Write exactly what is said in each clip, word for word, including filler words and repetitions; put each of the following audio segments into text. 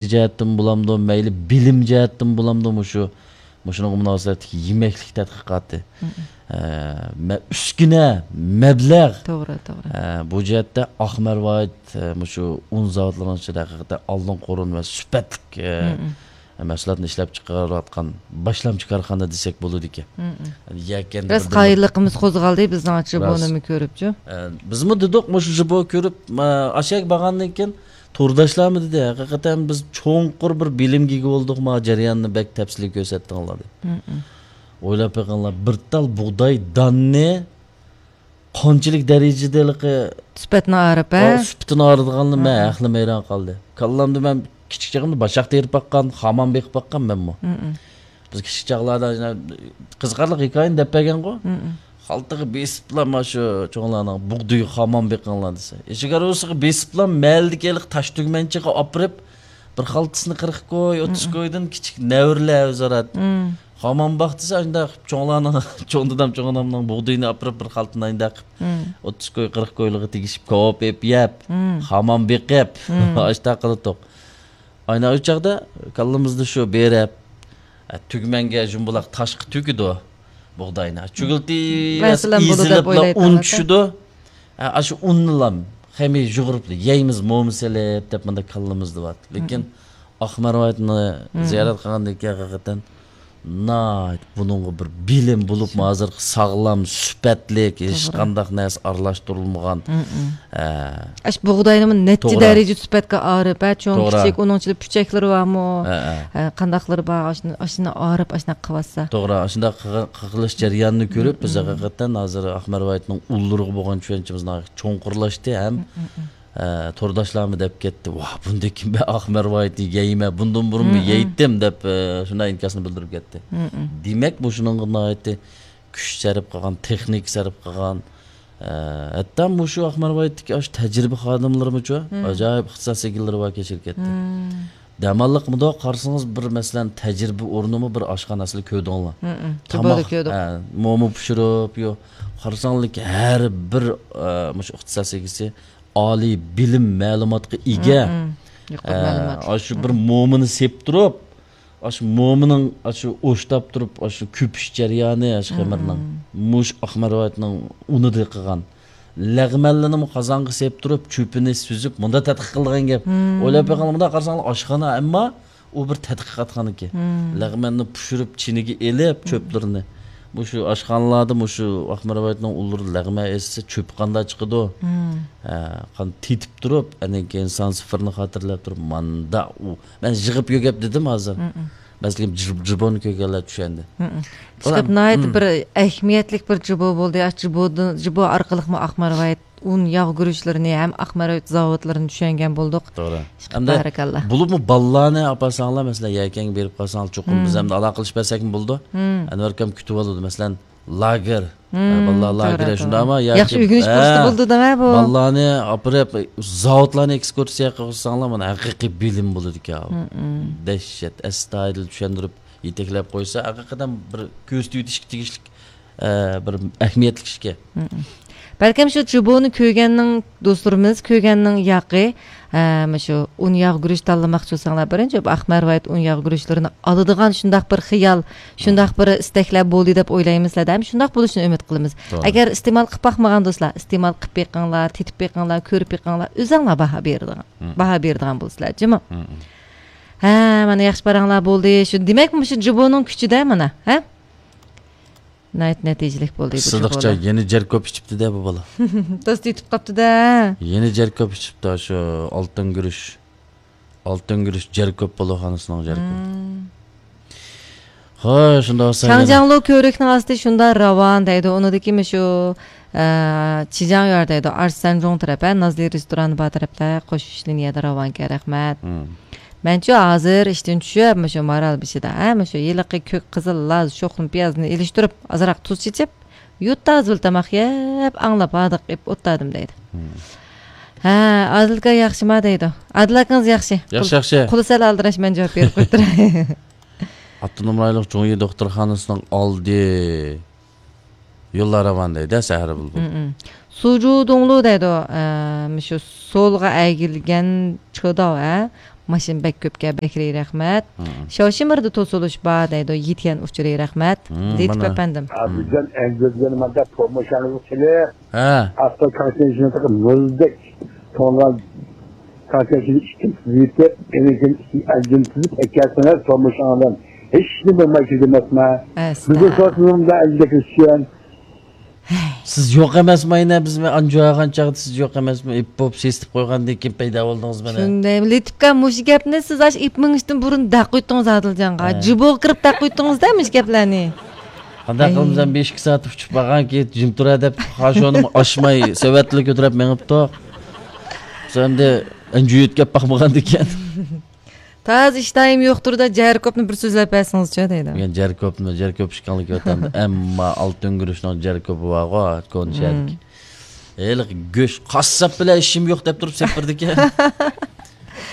جەھەتتىن بولامدۇ، مەيلى بىلىم جەھەتتىن بولامدۇ، مۇشۇ، مۇشۇنىڭغا مۇناسىۋەتلىك يېمەكلىك تەتقىقاتى. مم. ئە، مە-، ئۈسكۈنە، مەبلەغ. توغرا، توغرا. ئە، بۇ جەھەتتە ئاق مەرۋايىت، ئە، مۇشۇ ئۇن زاۋۇتلىرىنىڭ ئىچىدە ھەقىقەتەن ئالدىن قورۇن ۋە سۈپەتلىك، ئە، مم. مەھسۇلاتنى ئىشلەپ چىقىرىۋاتقان باشلامچى كارخانا دېسەك بولىدىكەن. مم. يەكەندە راست بىردىن بىر قايىللىقىمىز قوزغالدى بىزنىڭ راست. جىبونىمۇ كۆرۈپچۇ. ئە، بىزمۇ دېدۇق، مۇشۇ جىبو كۆرۈپ، ئە، ئاشۇ يەرگە بارغاندىن كېيىن تورداشلارمۇ دېدى، ھەقىقەتەن بىز چوڭقۇر بىر بىلىمگە ئىگە بولدۇق، ما جەرياننى بەك تەپسىلىي كۆرسەتتىڭلار دەپ. مم. ئويلاپ بېقىڭلار، بىر تال بۇغداي داننى قانچىلىك دەرىجىدە ھېلىقى سۈپەتنى ئارىپ، ھە؟ ئا، سۈپىتىنى ئارىدىغاننى مەن ھەقلىم ھەيران قالدى. كاللامدا مەن كىچىك چېغىمدا باشاق تېرىپ باققان، خامان بېقىپ باققان مەنمۇ. مم. بىز كىچىك چاغلاردا يەنە قىزىقارلىق ھېكايىنى دەپ بەرگەنغۇ. مم. خالتىغا بېسىپلا مانا شۇ چوڭلارنىڭ بۇغدىيىغا خامان بېقىڭلار دېسە. ئىچىگە روسىغا بېسىپلا مەھەللىدىكى ھېلىقى تاش تۈگمەنچىگە ئاپىرىپ، بىر خالتىسىنى قىرىق كوي، ئوتتۇز كويدىن كىچىك نەۋرىلەر ئۆزئارا مم. خامان باق دېسە، ئاشۇنداق چوڭلارنىڭ، چوڭ دادام، چوڭ ئانامنىڭ بۇغدىيىنى ئاپىرىپ، بىر خالتىنى ئاشۇنداق قىلىپ، مم. ئوتتۇز كوي، قىرىق كويلىرىغا تېگىشىپ، كاۋاپ ئېپ يەپ، مم. خامان بېقىپ، مم. ئاشۇنداق قىلاتتۇق. ئاينا ئۇ چاغدا كاللىمىزدا شۇ بېرىپ، ئە، تۈگمەنگە جۇمبۇلاق تاشقا تۈگىدۇ بۇغداينى. چۈگۈلتى مەسىلەن، بولىدۇ دەپ ئېزىلىپلا ئويلايتتىڭىز ئۇن چۈشىدۇ. ئە، ئاشۇ ئۇننىلا خېمى يۇغۇرۇپلا يەيمىز، مومىسى ئېلىپ دەپ مۇنداق كاللىمىزدا بار. لېكىن مم. ئاق مەرۋايىتنى مم. زىيارەت قىلغاندىن كېيىن ھەقىقەتەن ناھايىتى بۇنىڭغا بىر بىلىم بولۇپمۇ، ھازىرقى ساغلام، سۈپەتلىك، توغرا. ھېچقانداق نەرسە ئارىلاشتۇرۇلمىغان. مم، مم. ئە، ئاشۇ بۇغداينىمۇ نەچچە توغرا. دەرىجە سۈپەتكە ئارىپ، ھە، چوڭ توغرا. كىچىك، ئۇنىڭ ئىچىدە پۈچەكلىرى بارمۇ؟ ھە، ھە. ھە، قانداقلىرى بار، ئاشۇنى، ئاشۇنى ئارىپ، ئاشۇنداق قىلىۋاتسا. توغرا، ئاشۇنداق قىغ-، قىغىلىش جەريانىنى كۆرۈپ، بىز مم، مم. ھەقىقەتەن ھازىر ئاق مەرۋايىتنىڭ ئۇنلىرىغا بولغان چۈشەنچىمىز ناھايىتى چوڭقۇرلاشتى ھەم، مم، مم، مم. ئە، تورداشلارمۇ دەپ كەتتى، «ۋاھ، بۇندىن كېيىن مەن ئاق مەرۋايىتنى يەيمەن، بۇندىن بۇرۇنمۇ مم، مم. يەيتتىم» دەپ، ئە، شۇنداق ئىنكاسنى بىلدۈرۈپ كەتتى. مم، مم. دېمەك، مۇشۇنىڭغا ناھايىتى كۈچ سەرپ قىلغان، تېخنىكا سەرپ قىلغان، ئە، ھەتتا مۇشۇ ئاق مەرۋايىتتىكى ئاشۇ تەجرىبە خادىملىرىمۇچۇ، مم. ئاجايىپ ئىختىساس ئىگىلىرى باركەن شىركەتتە. مم. دەماللىقمىدۇ، قارىسىڭىز بىر، مەسىلەن، تەجرىبە ئورنىمۇ بىر ئاشخانا ئەسلى كۆردۈڭلار. مم، مم. تاماق، تاماق كۆردۇق. ھە، مومو پىشۇرۇپ، يو، قارىساڭلار ھەر بىر، ئە، مۇشۇ ئىختىساس ئىگىسى ئالىي بىلىم، مەلۇماتقا ئىگە. مم، مم. يۇقىرى ئە، مەلۇماتلىق. ئاشۇ بىر مم. مومىنى سېپ تۇرۇپ، ئاشۇ مومىنىڭ ئاشۇ ئوشتاپ تۇرۇپ، ئاشۇ كۆپۈش جەريانى، ئاشۇ خېمىرنىڭ، مم. مۇشۇ ئاق مەرۋايىتنىڭ ئۇنىدا قىلغان. لەغمەنلىرىنىمۇ قازانغا سېپ تۇرۇپ، چۆپىنى سۈزۈپ، مۇنداق تەتقىق قىلغان گەپ. مم. ئويلاپ بېقىڭلار، مۇنداق قارىساڭلار، ئاشخانا، ئەمما ئۇ بىر تەتقىقاتخانىكەن. مم. لەغمەننى پىشۇرۇپ، چىنىگە ئېلىپ، مم. چۆپلىرىنى. مۇشۇ ئاشخانىلاردا مۇشۇ ئاق مەرۋايىتنىڭ ئۇنلىرى لەغمەن ئېتىلسە، چۆپى قانداق چىقىدۇ؟ مم. ھە، قان تېتىپ تۇرۇپ، ئاندىن كېيىن سان سىفىرنى خاتىرىلەپ تۇرۇپ، ماندا ئۇ. مەن يىغىپ يۆگەپ دېدىم ھازىر. مم، مم. بەلكىم جىب-، جىبونى كۆرگەنلەر چۈشەندى. مم، مم. ئۇلار، ئىشلەپ ناھايىتى مم. بىر ئەھمىيەتلىك بىر جىبو بولدى. ئاشۇ جىبودىن، جىبو ئارقىلىقمۇ ئاق مەرۋايىت ئۇن ياغ گۈرۈچلىرىنى ھەم ئاق مەرۋايىت زاۋۇتلىرىنى چۈشەنگەن بولدۇق. توغرا. ئىشقىلىپ، ھەمدە بارىكاللا. بولۇپمۇ بالىلارنى ئاپارساڭلار، مەسىلەن، يەكەنگە بېرىپ قالساڭلار، چوقۇم مم. بىز ھەمدە ئالاقىلىشىپ بەرسەكمۇ بولىدۇ. مم. ئەنۋەركام كۈتۈۋالىدۇ. مەسىلەن، لاگېر. مم، ھە، بالىلار توغرا، لاگېرى توغرا. شۇنداقمۇ؟ ياخشى ياكى، ئۆگىنىش ھە، پۇرسىتى بولىدۇ دەمە بۇ. بالىلارنى ئاپىرىپ، زاۋۇتلارنى ئېكسكۇرسىيە قىلساڭلار، مانا ھەقىقىي بىلىم بولىدىكەن. مم، مم. دەھشەت، ئەستايىدىل چۈشەندۈرۈپ، يېتەكلەپ قويسا، ھەقىقەتەن بىر كۆزدە تۇتۇشقا تېگىشلىك، ئە، بىر ئەھمىيەتلىك ئىشكەن. مم، مم. بەلكىم شۇ جىبونى كۆرگەننىڭ، دوستلىرىمىز كۆرگەننىڭ ياقى، ھە، مۇشۇ ئۇن ياغ گۈرۈچ تاللىماقچى بولساڭلار، بىرىنچى، بۇ ئاق مەرۋايىت ئۇن ياغ گۈرۈچلىرىنى ئالىدىغان شۇنداق بىر خىيال، شۇنداق بىر ئىستەكلەر بولدى دەپ ئويلايمىز سىلەردە ھەم شۇنداق بولۇشىنى ئۈمىد قىلىمىز. توغرا. ئەگەر ئىستېمال قىلىپ باقمىغان دوستلار، ئىستېمال قىلىپ بېقىڭلار، تېتىپ بېقىڭلار، كۆرۈپ بېقىڭلار، ئۆزۈڭلار باھا بېرىدىغان، مم. باھا بېرىدىغان بولىسىلەر، جۇمۇ؟ مم، مم. ھە، مانا ياخشى پاراڭلار بولدى. شۇ، دېمەك، مۇشۇ جىبونىڭ كۈچىدە مانا، ھە؟ ناھايىتى نەتىجىلىك بولدى بۇ سىدىقچە جۇبۇلار. يەنە جەر كۆپ ئىچىپتۇ-دە بۇ بالا. تاس تېتىپ قاپتۇ-دە. يەنە جەر كۆپ ئىچىپتۇ، شۇ ئالتۇن گۈرۈچ. ئالتۇن گۈرۈچ جەر كۆپ بولىدۇ، خانىسىنىڭ جەر كۆپ. مم. خوش، شۇنداق بولسا يەنە. شاڭجياڭلۇ كۆۋرۈكنىڭ ئاستى شۇنداق راۋان دەيدۇ. ئۇنىڭدىكى مۇشۇ، ئە، چىجياڭيۈەن دەيدۇ. ئارسەنجۇڭ تەرەپ، ھە، نازلى رېستورانى بار تەرەپلەر قوشۇش لىنىيەدە راۋانكەن، رەھمەت. مم. مەنچۇ ھازىر ئىشتىن چۈشۈپ، مۇشۇ مارال بېشىدا، ھە، مۇشۇ ھېلىقى كۆك، قىزىل، لاز، شوخلىما پىيازنى ئېلىشتۇرۇپ، ئازراق تۇز چېچىپ، يۇرتتا ھازىر تاماق يەپ، ئاڭلاپ ھاردۇق ئېلىپ ئولتۇردۇم دەيدۇ. مم. ھە، ئادىل ئاكا ياخشىما دەيدۇ. ئادىل ئاكىڭىز ياخشى. ياخشى، قول-، ياخشى. قولى سەل ئالدىراش، مەن جاۋاب بېرىپ قويۇپ تۇراي. ئاپتونوم رايونلۇق جۇڭيى دوختۇرخانىسىنىڭ ئالدى يوللار راۋان دەيدۇ، سەھەر بۇلبۇل. مم، مم. سۇجۇدۇڭلۇ دەيدۇ، ئە، مۇشۇ سولغا ئەگىلگەن چېداۋ، ھە؟ ماشىنا بەك كۆپكەن، بەكرى رەھمەت. شاۋشىمىردا توسۇلۇش بار دەيدۇ، يېتىگەن ئۇچۇرى رەھمەت. لېتىپ ئەپەندىم. ھازىرجان ئەنزىدىن مانا پوماشاڭىزغا كېلىپ، ئاستا كاڭشەنشىنى تېخى مۇزدەك توڭلىغان كاڭشەنشىنى ئىككىنچى يېتىپ، ئېنىڭكىن ئەنزىدىن تىزىپ ئەكەلسىڭىز، پوماشاڭ بىلەن ھېچ نېمە بولماي كېلىدۇ ئەمەسمۇ؟ بىزنى سورىسىڭىز ئەنزىدەكى ئۈچۈن. سىز يوق ئەمەسمۇ ئەينە، بىز ئانجۇ ئالغان چاغدا سىز يوق ئەمەسمۇ؟ ئېپپوپ سېسىتىپ قويغاندىن كېيىن پەيدا بولدىڭىز مانا. شۇنداق، لېتىپكا مۇشۇ گەپنى سىز ئاش ئېپ مېڭىشتىن بۇرۇن دەق قويتتىڭىز ئادىلجانغا. جىبوغا كىرىپ دەق قويتتىڭىزدە مۇشۇ گەپلەرنى. قانداق قىلىمىز، بىر ئىككى سائەت ئۇچۇپ بارغانكى، جىم تۇرە دەپ، خاشونىمۇ ئاشماي، سېۋەتلا كۆتۈرۈپ مېڭىپتۇ. بىز ئەمدى ئەنجۈ يۆتكەپ باقمىغاندىكىن. تازا ئىشتايىم يوقتۇر-دە، جەركوپنى بىر سۆزلەپ بەرسىڭىزچۇ دەيدۇ. يەنە جەركوپنى، جەركوپ ئىكەنلىكى ۋەتەندە. ئەمما ئالتۇن گۈرۈچنىڭ جەركوپى بارغۇ، كونا شەھەردىكى. ھېلىقى گۆش، قاسساپ بىلەن ئىشىم يوق دەپ تۇرۇپ سېپىردىكەن.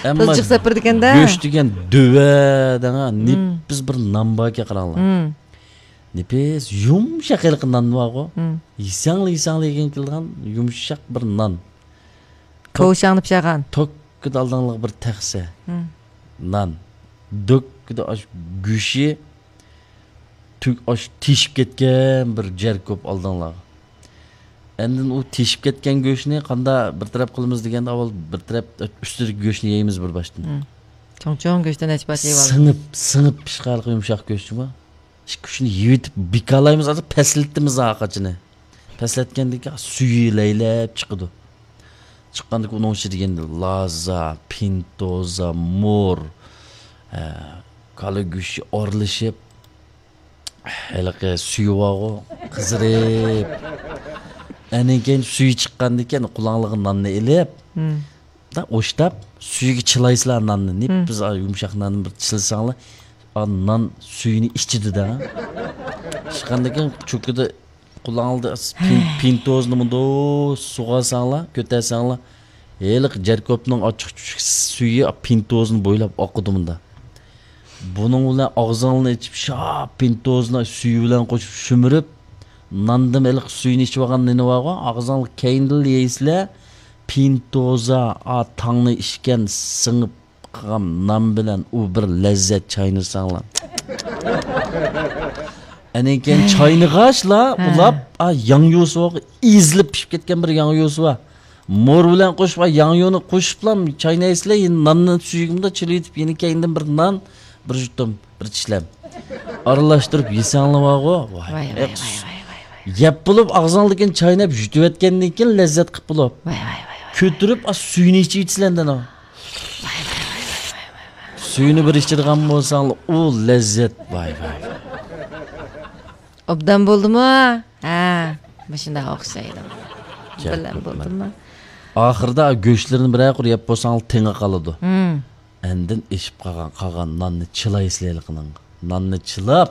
ئەمما تىزجىق سېپىردىكەن-دە. گۆش دېگەن دۆۋە دەڭا، نېپىز بىر نان باركەن، قاراڭلار. نېپىز، يۇمشاق ھېلىقى نان بارغۇ. يېسەڭلا، يېسەڭلا يېگۈڭ كېلىدىغان يۇمشاق بىر نان. كاۋشاڭنى پىشىرغان. توككىدا ئالدىڭلىغا بىر تەخسە نان. دۆككىدە ئاش گۆشى، تۈگ ئاش تېشىپ كەتكەن بىر جەركوپ ئالدىڭلارغا. ئاندىن ئۇ تېشىپ كەتكەن گۆشنى قاندا بىر تەرەپ قىلىمىز دېگەندە، ئاۋۋال بىر تەرەپ ئۈستىدىكى گۆشنى يەيمىز بىر باشتىن. چوڭ-چوڭ گۆشتىن نەچچە پارچە يەۋالىمىز. سىڭىپ، سىڭىپ پىشقانلىقى يۇمشاق گۆش جۇما. ئىككى ئۈچنى يېۋىتىپ بىكارلايمىز، ھازىر پەسلىتىمىز ھاقاچىنى. پەسلەتكەندىن كېيىن سۈيى لەيلەپ چىقىدۇ. چىققاندىن كېيىن ئۇنىڭ ئىچىدە يەنە لازا، پىنتوزا، مور، ھە، كالا گۆشى ئارىلىشىپ، ھېلىقى سۈيى بارغۇ، قىزىرىپ. ئاندىن كېيىن سۈيى چىققاندىن كېيىن قۇلاڭلىغا ناننى ئېلىپ، دا ئوشتاپ، سۈيىگە چىلايسىلەر ناننى. نېپىز، ئا، يۇمشاق ناننى بىر چىلىساڭلار، ئا، نان سۈيىنى ئىچىدۇ-دە. ئىچقاندىن كېيىن چوكىدا قۇلاڭلىدا پىن-، پىنتوزنى مۇنداق سۇغارساڭلار، كۆتەرسەڭلار، ھېلىقى جەركوپنىڭ ئاچچىق چۈچۈك سۈيى پىنتوزنى بويلاپ ئاقىدۇ مۇنداق. بۇنىڭ بىلەن ئاغزىڭلارنى ئېچىپ، شاپ پىنتوزنى سۈيى بىلەن قوشۇپ شۈمۈرۈپ، ناندىن ھېلىقى سۈيىنى ئىچىۋالغان نېنى بارغۇ، ئاغزىڭلار كەينىدىنلا يەيسىلەر، پىنتوزا، ئا، تاڭنى ئىچكەن سىڭىپ قالغان نان بىلەن ئۇ بىر لەززەت چاينىساڭلار. ئاندىن كېيىن چاينىغاچلا، ھە، ئۇلاپ، ئا، ياڭيۇسى بارغۇ، ئېزىلىپ پىشىپ كەتكەن بىر ياڭيۇسى بار. مور بىلەن قوشۇپ، ئا، ياڭيۇنى قوشۇپلا چاينايسىلەر، يەنە ناننى سۈيىگە مۇنداق چىلىۋېتىپ، يەنە كەينىدىن بىر نان، بىر يۇتۇم، بىر چىشلەم ئارىلاشتۇرۇپ يېسەڭلار بارغۇ. ۋاي، ۋاي، ۋاي، ۋاي، ۋاي. يەپ بولۇپ، ئاغزىڭدىكىنى چايناپ، يۇتۇۋەتكەندىن كېيىن لەززەت قىپ بولۇپ. ۋاي، ۋاي، ۋاي، ۋاي. كۆتۈرۈپ، ئا، سۈيىنى ئىچىۋېتىسىلەر ئاندىن. سۈيىنى بىر ئىچىدىغان بولساڭلار، ئۇ لەززەت. ۋاي، ۋاي، ۋاي. ئوبدان بولدىمۇ؟ ھە، مۇشۇنداق ئوخشايدۇ. بىلەن بولدىمۇ؟ ئاخىرىدا گۆشلىرىنى بىرەر قۇر يەپ بولساڭلار، تېڭى قالىدۇ. ھىم. ئاندىن ئېشىپ قالغان، قالغان ناننى چىلايسىلەر ھېلىقىنىڭغا. ناننى چىلاپ،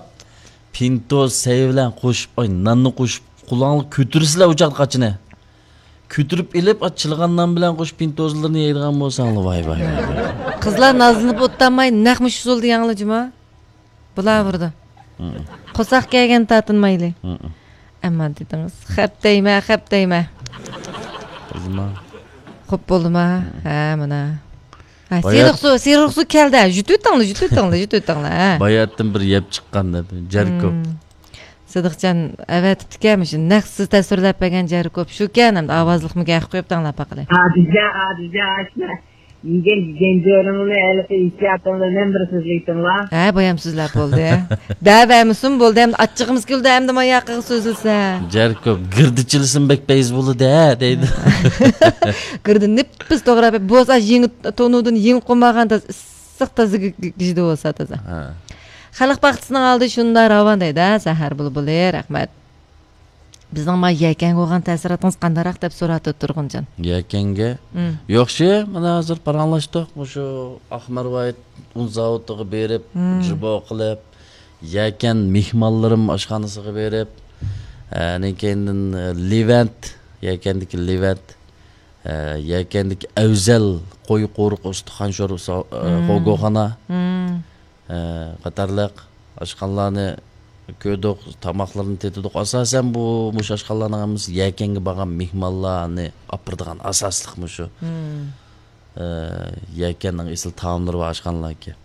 پىنتوز سەي بىلەن قوشۇپ، ئاي، ناننى قوشۇپ، قۇلاڭلار كۆتۈرىسىلەر ئۇ چاغدا قاچىنى. كۆتۈرۈپ ئېلىپ، ئا، چىلىغان نان بىلەن قوشۇپ پىنتوزلىرىنى يەيدىغان بولساڭلار، ۋاي، ۋاي، ۋاي، ۋاي. قىزلار نازلىنىپ ئولتۇرماي، نەق مۇشۇ ئۇسۇلدا يەڭلار جۇما. بۇلار بۇردا. قورساق كەلگەن تارتىنمايلى. ئەمما دېدىڭىز، خەپ دەيمە، خەپ دەيمە. قىزما. خوپ بولدىما؟ ھە، مانا. ھە، سېرىق سۇ، سېرىق سۇ كەلدى. يۇتۇۋېتىڭلار، يۇتۇۋېتىڭلار، يۇتۇۋېتىڭلار، ھە. باياتتىن بىر يەپ چىققان دەپ، جەركوپ. سىدىقجان ئەۋەتىپتىكەن، مۇشۇ نەق سىز تەسۋىرلەپ بەرگەن جەركوپ شۇكەن، ئەمدى ئاۋازلىقمۇ گەپ قويۇپ دەڭلار باقىلى. ئادىلجان، ئادىلجان، ئاشۇ يېگەن گەنجۆرۈڭنى ھېلىقى ئېھتىياتىڭ بىلەن بىر سۆزلەيتىڭلار. ھە، بايام سۆزلەپ بولدى. دەۋەرمىسۇن بولدى، ئەمدى ئاچچىقىمىز كېلىدۇ، ئەمدى ماياقىغا سۆزلىسە. جەركوپ، گىردە چىلىسىمۇ بەك پەيز بولىدۇ، ھە، دەيدۇ. گىردە نېپىز توغرا، بولسا يېڭى تونۇدىن يېڭى قونمىغان تازا ئىسسىق تازا گىژدە بولسا تازا. ھە. خەلق باغچىسىنىڭ ئالدى شۇنداق راۋان دەيدۇ، ھە، سەھەر بۇلبۇلى، رەھمەت. بىزنىڭ ما يەكەنگە بولغان تەسىراتىڭىز قانداقراق دەپ سوراپتۇ تۇرغۇنجان. يەكەنگە؟ ياخشى، مانا ھازىر پاراڭلاشتۇق. مۇشۇ ئاقمارۋايىت ئۇن زاۋۇتىغا بېرىپ، جىبو قىلىپ، يەكەن مېھمانلىرىم ئاشخانىسىغا بېرىپ، ئاندىن كېيىندىن لېۋەنت، يەكەندىكى لېۋەنت، يەكەندىكى ئەۋزەل قوي قورۇق ئۇستىخان شورپىسى، خوگوخانا. قاتارلىق ئاشخانىلارنى كۆردۇق، تاماقلىرىنى تېتىدۇق. ئاساسەن بۇ، مۇشۇ ئاشخانىلارنىڭ ھەممىسى يەكەنگە بارغان مېھمانلارنى ئاپىرىدىغان ئاساسلىق مۇشۇ. يەكەننىڭ ئېسىل تائاملىرى بار ئاشخانىلاركەن.